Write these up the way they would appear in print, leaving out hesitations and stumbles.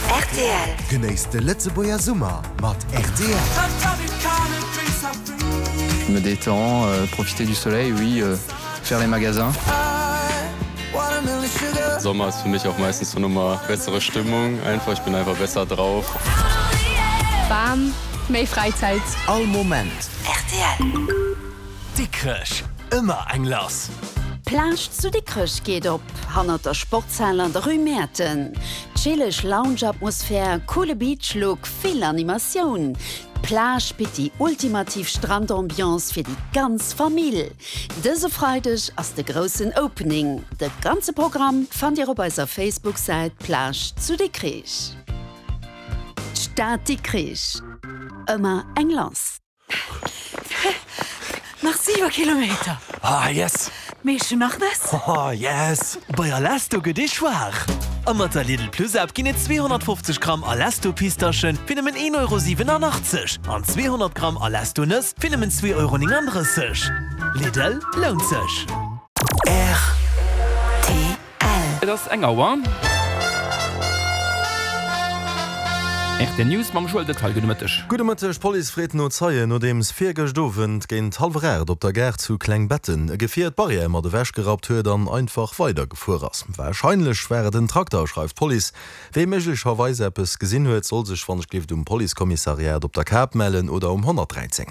Rtl. Genéisst de Lëtzebuerger Summer mat rtl. Je me détends, profiter du soleil, oui, faire les magasins. Sommer ist für mich auch meistens so nochmal bessere Stimmung einfach, ich bin einfach besser drauf. Bam, méi Fräizäit. All Moment. Rtl. Dikrech, ëmmer eng lass! D'Plage zu Dikrech geet op, hannert der Sportshal an der Rue Mäerten. Chilleg Lounge-Atmosphär, coole Beach-Look, vill Animatioun. D'Plage bitt déi ultimativ Strandambiance fir déi ganz Famill. Dëse Freideg ass de groussen Opening. De ganze Programm fannt Dir op eiser Facebook-Säit Plage zu Dikrich. D'Stad Dikrich, ëmmer eng lass. Nach 7 Kilometer. Ah yes! Mee ech hun nach Nëss. Oh yes! Bei Alesto gëtt ee schwaach! A mat der Lidl Plus App ginn et 250 Gramm Alesto Pistaschen fir nëmmen 1,87 Euro an 200 Gramm Alesto Nëss fir nëmmen 2,39 Euro. Lidl, lount sech! Rtl. Et ass eng Auer. Rtl News mam Joël Detaille. Gudde Mëtteg. Gudde Mëtteg. D'Police freet no Zeien, nodeems virgëscht Owend géint hallwer 8 op der Gare zu Klengbetten e Gefier d'Barrière mat ewech gerappt huet an einfach weidergefuer ass. Warscheinlech war et en Trakter, schreift d'Police. Wee méiglecherweis eppes gesinn huet, soll sech wann ech gleeft um Policekommissariat op der Kap mellen oder um 113.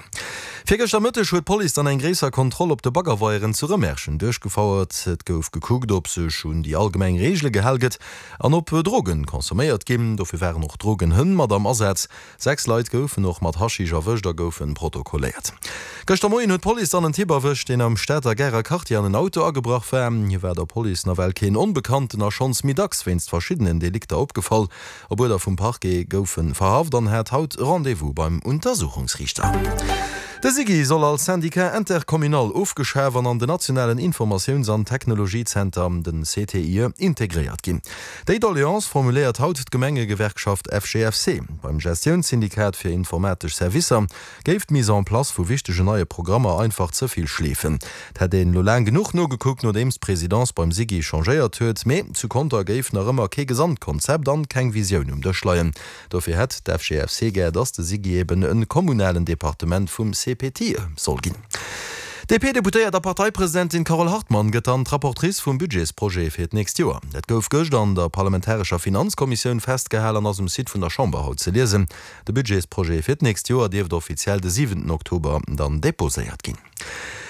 Virgëschter Mëtteg huet d'Police dann eng gréisser Kontroll op de Baggerweieren zu Rëmerschen duerchgefouert. Et gouf gekuckt, ob sech un déi allgemeng Reegele gehal gëtt an ob Drogen consomméiert ginn. Dofir waren och Drogenhënn mat am Asaz. 6 Leit goufen och mat Haschisch erwëscht a goufe protokolléiert. Gëschter Moien huet d'Police dann en Typ erwëscht, deen am Stater Garer Quartier an en Auto agebrach war. Hie war der Police nawell keen Onbekannten a schonns méi dacks wéinst verschiddenen Delikter opgefall. Op Uerder vum Parquet gouf en verhaft an hat haut Rendez-vous beim Untersuchungsriichter. De SIGI soll als Syndicat intercommunal ofgeschaf an an den nationalen Informatiouns an Technologiezenter, den CTIE, integréiert ginn. Déi Doleance formuléiert haut d'Gemengegewerkschaft FGFC. Beim Gestiounssyndikat fir informatesch Servicer géif d'Mise en place vu wichtegen neie Programmer einfach ze vill schleefen. Et hätt een elo laang genuch nogekuckt, nodeems d'Presidence beim SIGI changéiert huet, mee zu Conter géif nach ëmmer kee Gesamtkonzept an keng Visioun um Dësch leien. Dofir hätt d'FGFC gär, datt de SIGI eben e kommunalen Departement vum CPTE soll ginn. D'DP-Deputéiert a Parteipresidentin Carole Hartmann gëtt dann d'Rapportrice vum Budgetsprojet fir d'nächst Joer. Dat gouf gëscht an der parlamentarescher Finanzkommissioun festgehal an ass um Site vun der Chamber haut ze liesen. De Budgetsprojet fir d'nächst Joer dierft offiziell de siwenten Oktober dann deposéiert ginn.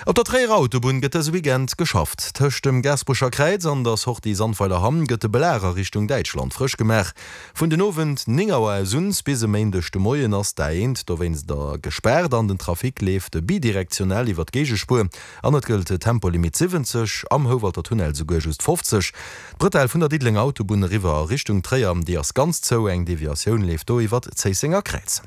Op der Tréierer Autobunn gëtt dëse Weekend geschafft. Tëscht dem Gaasperecher Kräiz an der Sortie Sandweiler-Hamm gëtt de Belag a Richtung Däitschland frësch gemaach. Vun den Owend 9 Auer aus un bis e Méindeg de Moien ass d'A1 dowéinst gespaart an den Trafic leeft bidirektional iwwer d'Géigespuer an et gëllt Tempolimit 70, am Houwalter Tunnel souguer just 50. D'Bretelle vun der Diddelenger Autobunn eriwwer a Richtung Tréier, déi ass ganz zou, eng Deviatioun leeft do iwwer d'Zéissenger Kräiz.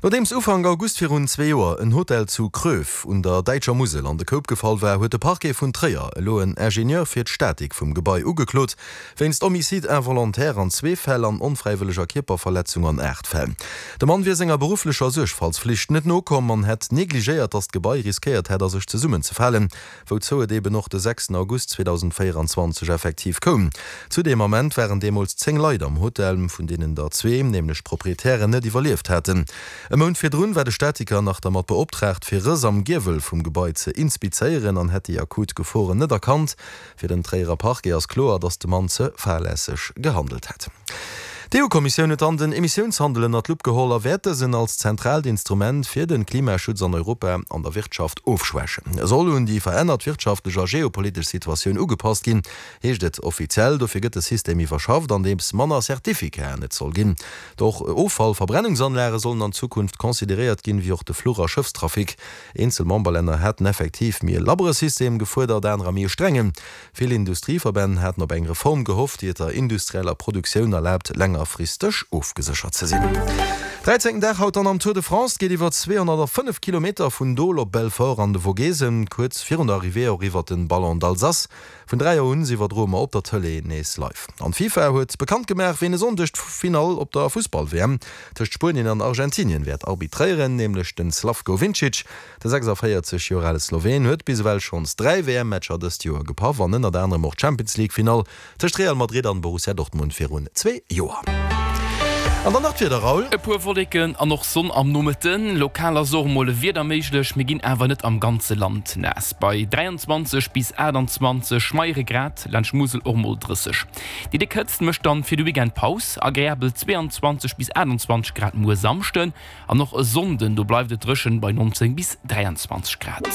Nodeems Ufank August virun zwee Joer en Hotel zu Kröv un der däitscher Musel an de Koup gefall war, huet de Parquet vun Tréier elo en Ingenieur fir d'Statik vum Gebai ugeklot, wéinst Homicide involontaire an zwee Fäll an onfräiwëlleger Kierperverletzung an 8 Fäll. De Mann wier senger berufflecher Suergfaltsflicht net nokomm an hätt negligéiert, datt d'Gebai riskéiert hätt a sech zesummenzefalen. Wouzou et eben och de sechsten August 2024 effektiv koum. Zu deem Ament waren deemools 10 Leit am Hotel, vun deenen der zwee, nämlech d'Proprietären, net iwwerlieft haten. E Mount virdrun war de Statiker nach dermat beoptraagt, fir Rëss am Giewel vum Gebai ze inspizéieren an hätt déi akut Geforen net erkannt. Fir den Tréierer Parquet ass kloer, datt de Mann ze fahrlässeg gehandelt hätt. D'EU-Kommissioun huet dann den Emissiounshandel ënnert d'Lupp geholl a wäert dësen als zentraalt Instrument fir de Klimaschutz an Europa an der Wirtschaft ofschwächen. E soll un déi verännert wirtschaftlech a geopolitesch Situatioun ugepasst ginn, heescht et offiziell. Dofir gëtt de System iwwerschafft, andeems manner Certificaten et soll ginn. Och Offallverbrennungsanlage sollen an Zukunft consideréiert ginn, wéi och de Fluch a Schëffstrafic. Eenzel Memberlänner haten effektiv méi e labbere System gefuerdert, anerer méi e strengen. Vill Industrieverbänn haten op eng Reform gehofft, déi et der industrieller Produktioun erlaabt, längerfristeg ofgeséchert ze sinn. Dräizéngten Dag haut dann am Tour de France. Et geet iwwer 205 Kilometer vun Dole op Belfort an de Vogesen, kuerz virun der Arrivée och iwwer den Ballon d'Alsace. Vun 3 Auer un iwwerdroe mer op der Tëlee nees live. An d'FIFA huet bekannt gemaach, ween e Sonndeg d'Finall op der Fussball-WM tëscht Spuenien an Argentinien wäert arbitréieren, nämlech den Slavko Vincic. De 46 Joer ale Sloween huet bis ewell schonns 3 WM-Matcher dëst Joer gepaff an ënnert anerem och d'Champions League-Finall Tëscht Real Madrid an Borussia Dortmund virun zwee Joer. An dann nach d'Wieder, Raoul. E puer Wolleken an och Sonn am Nomëtten. Lokal ass och emol e Wieder méiglech, mee ginn awer net am ganze Land naass. Bei 23 bis 28 schmeiere Grad, laanscht Musel och mol 30. Déi déck Hëtzt mécht dann fir de Weekend Paus, agreabel 22 bis 28 Grad muer Samschden. An och e Sonnden, do bleift et dréchen bei 19 bis 23 Grad.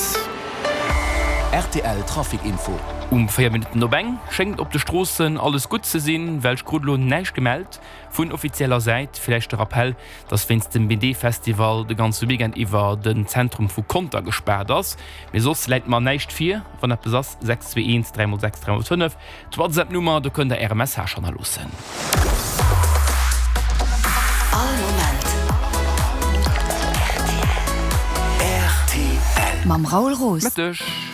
Rtl Trafic Info. Um 4 Minutten op eng schéngt op de Stroossen alles gutt ze sinn, well ech krut elo näischt gemellt vun offizieller Säit. Villäicht de Rappell, dass wéinst dem BD-Festival de ganze Weekend iwwer den Zentrum vu Conter gespaart ass. Mee soss läit mer näischt vir. Wann eppes ass, 621 3 x 6 3 x 5. D'Whatsapp-Nummer, do kënnt der äre Message hannerloossen. All Moment rtl. Mam Raoul Roos. Mëtteg.